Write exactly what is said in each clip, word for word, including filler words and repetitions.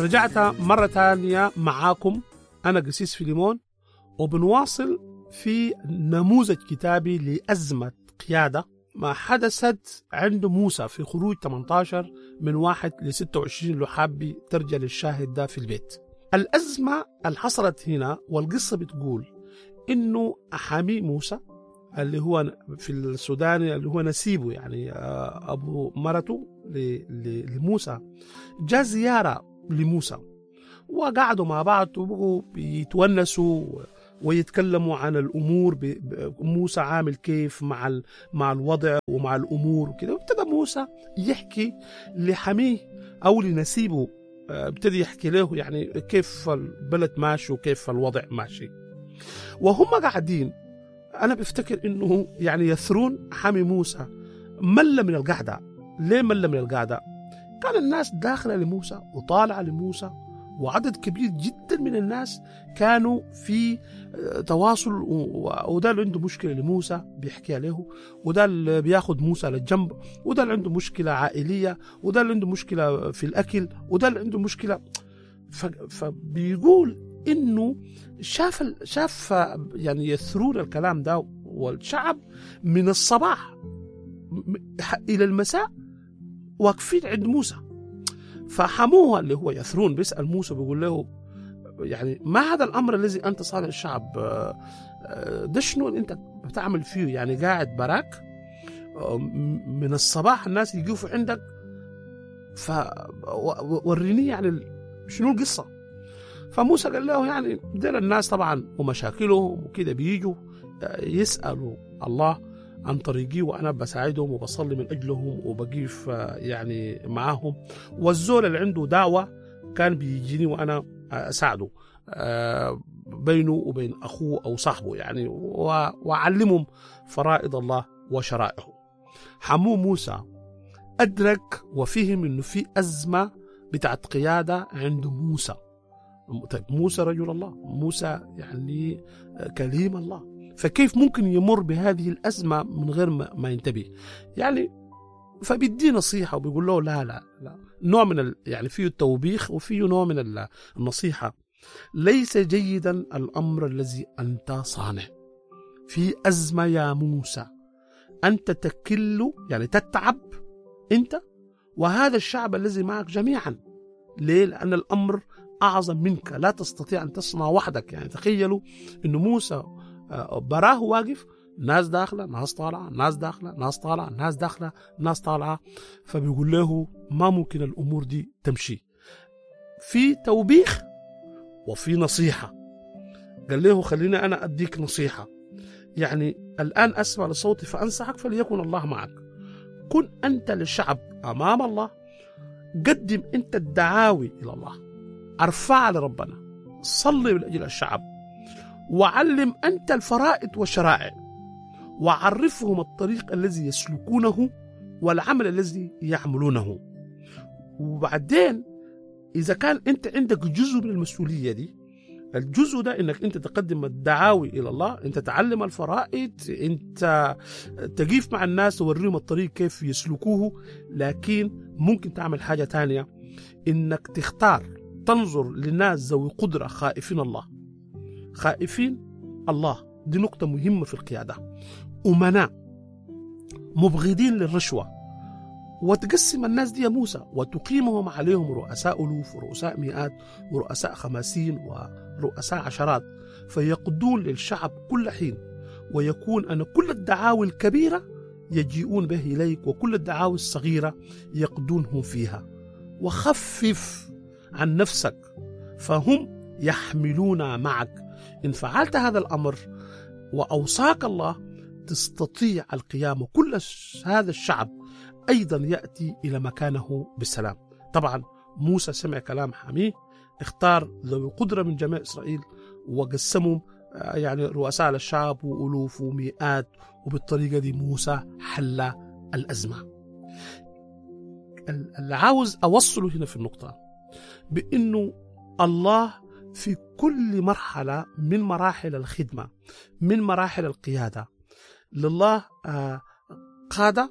رجعت مرة تانية معاكم، أنا قسيس فيليمون، وبنواصل في نموذج كتابي لأزمة قيادة ما حدثت عند موسى في خروج ثمانية عشر من واحد ل ستة وعشرين، لو حابي ترجع للشاهد ده في البيت. الأزمة اللي حصلت هنا، والقصة بتقول إنه حامي موسى اللي هو في السودان اللي هو نسيبه، يعني آه، أبو مرته لموسى، جاء زيارة لموسى وقعدوا مع بعض وبقوا بيتونسوا ويتكلموا عن الامور، موسى عامل كيف مع مع الوضع ومع الامور وكده. وابتدى موسى يحكي لحميه او لنسيبه، آه، ابتدي يحكي له يعني كيف البلد ماشي وكيف الوضع ماشي. وهم قاعدين، انا بفتكر انه يعني يثرون حامي موسى مل من القعده. ليه مل من القعده؟ كان الناس داخله لموسى وطالعه لموسى، وعدد كبير جدا من الناس كانوا في آه، تواصل، وده اللي عنده مشكلة لموسى بيحكيها له، وده اللي بياخد موسى للجنب، وده اللي عنده مشكلة عائلية، وده اللي عنده مشكلة في الأكل، وده اللي عنده مشكلة. فبيقول انه شاف شاف يعني يثرون الكلام ده، والشعب من الصباح الى المساء واقفين عند موسى. فحموها اللي هو يثرون بيسأل موسى، بيقول له يعني ما هذا الأمر الذي أنت صانع الشعب؟ آه، آه، ده شنو اللي أنت بتعمل فيه؟ يعني قاعد براك آه، من الصباح الناس يقفوا عندك، فوريني يعني شنو القصة. فموسى قال له يعني ديل الناس طبعا ومشاكلهم وكده، بيجوا يسألوا الله عن طريقي، وانا بساعدهم وبصلي من اجلهم وبقيف يعني معاهم، والزول اللي عنده دعوه كان بيجيني وانا اساعده آه، بينه وبين اخوه او صاحبه يعني، واعلمهم فرائض الله وشرائعه. حمو موسى ادرك وفهم انه في ازمه بتاعت قياده عند موسى. طيب، موسى رجل الله، موسى يعني كليم الله، فكيف ممكن يمر بهذه الأزمة من غير ما ينتبه؟ يعني فبيدي نصيحة وبيقول له لا لا لا، نوع من ال يعني فيه التوبيخ وفيه نوع من النصيحة: ليس جيدا الأمر الذي أنت صانع. في أزمة يا موسى، أنت تكل، يعني تتعب أنت وهذا الشعب الذي معك جميعا. ليه؟ لأن الأمر أعظم منك، لا تستطيع أن تصنع وحدك. يعني تخيلوا أن موسى آه، براه واقف، ناس داخله، ناس طالعه، ناس داخله، ناس طالعه، ناس داخله، ناس طالعه. فبيقول له ما ممكن الامور دي تمشي. في توبيخ وفي نصيحه. قال له خليني انا اديك نصيحه، يعني الان اسمع لصوتي فانصحك فليكن الله معك. كن انت للشعب امام الله، قدم انت الدعاوي الى الله، ارفع لربنا، صلي من اجل الشعب، وعلم أنت الفرائض والشرائع، وعرفهم الطريق الذي يسلكونه والعمل الذي يعملونه. وبعدين إذا كان أنت عندك جزء من المسؤولية دي، الجزء ده انك انت تقدم الدعاوي الى الله، انت تعلم الفرائض، انت تقيف مع الناس توريهم الطريق كيف يسلكوه، لكن ممكن تعمل حاجة تانية، انك تختار، تنظر للناس ذوي قدرة خائفين الله. خائفين الله دي نقطة مهمة في القيادة. أمناء، مبغضين للرشوة، وتقسم الناس دي يا موسى وتقيمهم عليهم رؤساء ألوف ورؤساء مئات ورؤساء خمسين ورؤساء عشرات، فيقضون للشعب كل حين، ويكون أن كل الدعاوي الكبيرة يجيئون به إليك، وكل الدعاوي الصغيرة يقضونهم فيها، وخفف عن نفسك فهم يحملون معك. إن فعلت هذا الأمر وأوصاك الله تستطيع القيام، وكل هذا الشعب أيضا يأتي إلى مكانه بالسلام. طبعا موسى سمع كلام حميه، اختار ذوي قدرة من جميع إسرائيل وقسمهم يعني رؤساء للشعب وألوف ومئات، وبالطريقة دي موسى حل الأزمة. اللي عاوز أوصله هنا في النقطة بأنه الله في كل مرحلة من مراحل الخدمة، من مراحل القيادة، لله قادة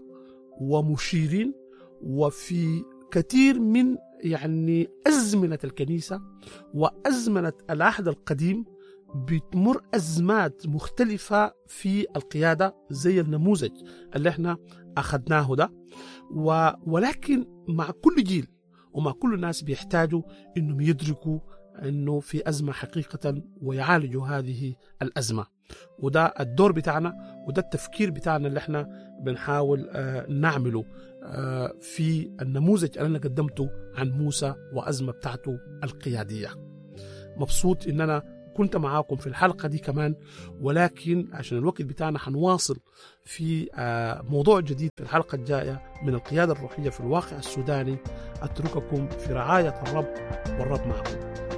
ومشيرين، وفي كثير من يعني أزمنة الكنيسة وأزمنة العهد القديم بتمر أزمات مختلفة في القيادة زي النموذج اللي احنا أخذناه ده، ولكن مع كل جيل ومع كل الناس بيحتاجوا إنهم يدركوا إنه في أزمة حقيقة ويعالجوا هذه الأزمة. وده الدور بتاعنا وده التفكير بتاعنا اللي احنا بنحاول نعمله في النموذج اللي أنا قدمته عن موسى وأزمة بتاعته القيادية. مبسوط إن أنا كنت معاكم في الحلقة دي كمان، ولكن عشان الوقت بتاعنا حنواصل في موضوع جديد في الحلقة الجاية من القيادة الروحية في الواقع السوداني. أترككم في رعاية الرب، والرب معكم.